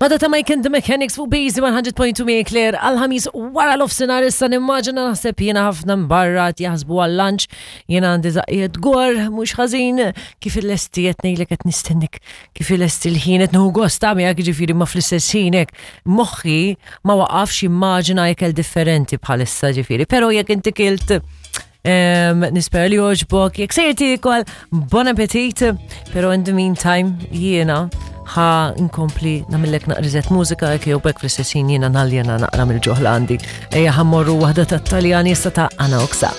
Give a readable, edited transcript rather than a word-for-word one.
Mada ta' Mike and the Mechanics fuq Busy 100.2 mi Claire għal-ħamis wara l-ofsinar issa nimmaġina naħseb jiena ħafna mbarra jaħsbu għal-lunch jiena għandi zaqqiet gor mhux ħażin kif il-lesti qed ngħidlek qed nistennik kif il-lesti l-ħin qed nieħu gost ta' miegħek jiġifieri ma fl-istess ħin hekk moħħi ma waqafx jimmaġina ikel differenti bħalissa ġifieri però jekk inti kilt Nispera li joġbok, jek sejr tiekol, bon appetit, pero in the meantime jiena ħa nkompli namillek naqrizet mużika jek jew bekk fl-istess ħin jiena naljena naqra mill-ġoħla għandi. Ejja ħammorru waħda tat-Taljani issa ta' Ana Oksa.